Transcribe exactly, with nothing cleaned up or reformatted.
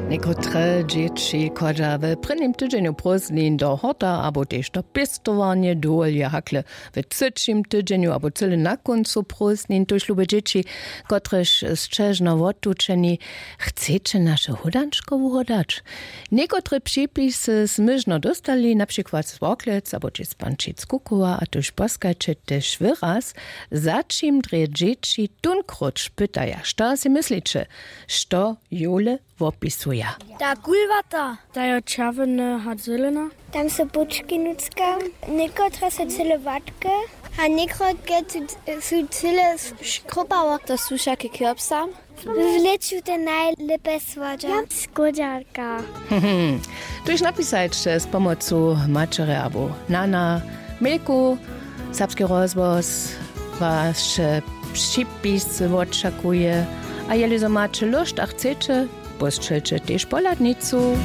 Někotre dźěći chodźa w prěnim tydźenju prózdnin do horta abo tež do pěstowarnje, dowolja hakle w třećim tydźenju abo cyle na kóncu prózdnin. Tuž lube dźěći, kotrež sće žno wotučeni, chceće naše hódančko wuhodać? Někotre připisy smy žno dóstali, na přikład z Worklec abo tež z Pančic Kukowa. A tuž poskajće tež wyraz, za čim drje dźěći tónkróć pytaja. Što sej mysliće, što jowle wopisuja? Ta kulwata, ta jo čerwjena a zelena. Tam su pučki nutřka, někotre su cyle łatke a někotre su, su cyle škrópałe. To su wšake kirpsa. W lěću te najlěpe słodźa. Skódźarka. Tuž napisajće z pomocu maćerje abo nana mailku. Serbski rozhłos waše připis wočakuje. A jeli zo maće lóšt a chceće, pósćelće tež pohladnicu.